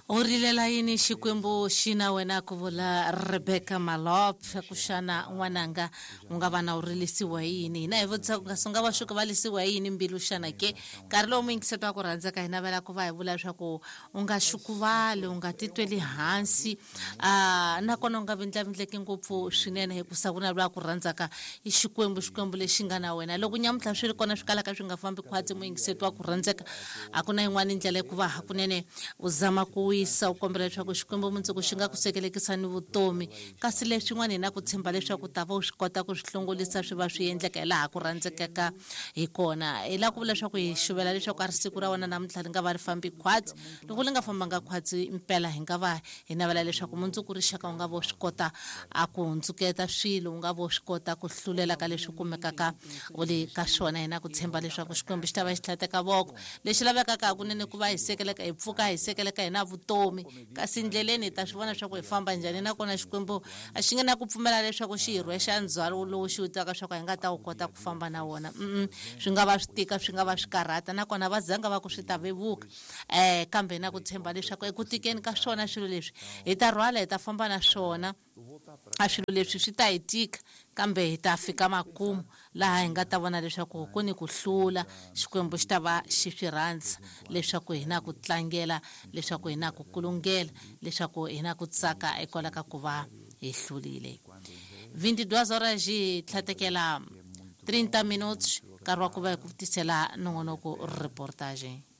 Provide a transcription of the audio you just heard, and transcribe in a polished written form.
U rilela yini Xikwembu xi na wena ku vula Rebecca Malop ku xana n'wananga u nga va na u rilisiwa hi yini hina hi vutisa ku nga sunga va xuka va lisiwa hi yini mbilu xana ke nkarhi lowu muyingiseti wa ku rhandzeka hi navela ku va hi vula leswaku u nga xukuvali u nga titweli hansi nakona u nga vindlavindleki ngopfu swinene hikusa ku na loyi a ku rhandzaka i Xikwembu Xikwembu lexi nga na wena loko nyamuntlha swi ri kona swi kalaka swi nga fambi khwatsi muyingiseti wa ku rhandzeka A ku na yin'wana ndlela yi ku va hakunene u zama ku wisa, u kombela leswaku Xikwembu mundzuku xi nga ku sekelekisa ni vutomi. Kasi leswin'wana hi na ku tshemba leswaku u ta va u swi kota ku swi hlongolisa swi va swi endleka hi laha ku rhandzekaka hi kona. Hi lava ku vula leswaku hi xuvela leswaku a ri siku ra wena namuntlha ri nga va ri fambi khwatsi. Loko ri nga fambanga khwatsi mpela hi nga va hi navela leswaku mundzuku rixaka u nga va u swi kota a ku hundzuketa swilo, u nga va u swi kota ku hlulela ka leswi kumekaka u le ka swona. Hi na ku tshemba leswaku Xikwembu xi ta va xi tlhateka voko. Lexi lavekaka hakunene ku va hi sekeleka, hi pfuka hi sekeleka hi na vutomi. Kasi ndleleni hi ta swi vona leswaku hi famba njhani, nakona Xikwembu a xi nge na ku pfumela leswaku xi hi rhwexa ndzhwalo lowu xi wu tivaka leswaku a hi nga ta wu kota ku famba na wona. Swi nga va swi tika, swi nga va swi karhata, nakona va zanga va ku swi ta vevuka. Kambe hi na ku tshemba leswaku eku tikeni ka swona swilo leswi, hi ta rhwala hi ta famba na swona. A swilo leswi swi ta hi tika, kambe hi ta fika makumu laha hi nga ta vona leswaku ku ni ku hlula. Xikwembu xi ta va xi swi rhandza leswaku hi na ku tlangela, leswaku hi na ku kulungela, leswaku hi na ku tsaka hikwalaho ka ku va hi hlulile. 22 horas hi tlhatekela 30 minutos, nkarhi wa ku va hi ku tisela nongonoko reportage.